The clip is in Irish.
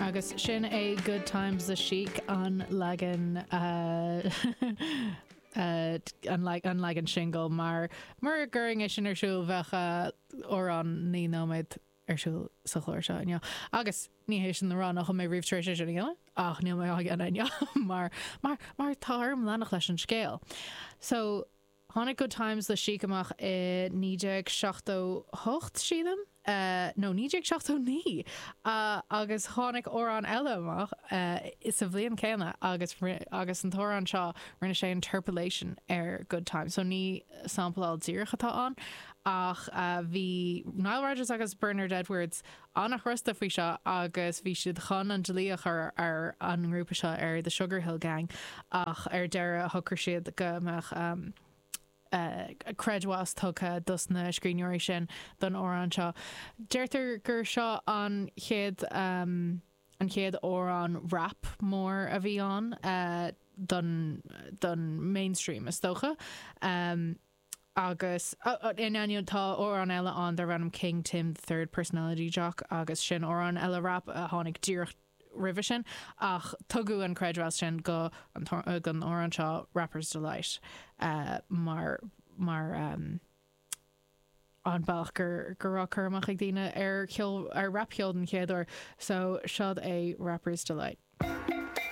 Agus sin é Good Times le Chic an leagan an leagan singil mar mura gcuirfinn é sin ar siúl bheadh amhrán 9 nóiméad ar siúl sa chlár seo inniu. Agus ní hé sin le rá nach bhfuil mé riamh tar éis é sin a dhéanamh ach níl mé á dhéanamh inniu mar mar mar tá orm leanacht leis an scéal. So Tháinig Good Times le Chic amach i 1978, sílim, nó 1979, agus tháinig amhrán eile amach sa bhliain chéanna agus agus an t-amhrán seo, rinne sé interpolation ar Good Times. So ní sampláil díreach atá ann ach bhí Nile Rodgers agus Bernard Edwards an-chrosta faoi seo agus bhí siad chun an dlí a chur ar an ngrúpa seo, ar The Sugar Hill Gang, ach ar deireadh shocraigh siad go mbeadh creidmheas tugtha dos na scríbhneoirí sin don amhrán seo. Deirtear gur seo an chéad an chéad amhrán rap mór a bhí ann don don mainstream is dócha. Agus, in ainneoin, tá amhrán eile ann darb ainm King Tim the Third Personality Jock agus sin amhrán eile rap a tháinig díreach roimhe sin ach tugadh an creidmheas sin go an don amhrán seo Rapper's Delight mar mar an bealach gur go raibh cur amach ag daoine ar cheol ar rapcheol den chéad uair. So, seod é Rapper's Delight.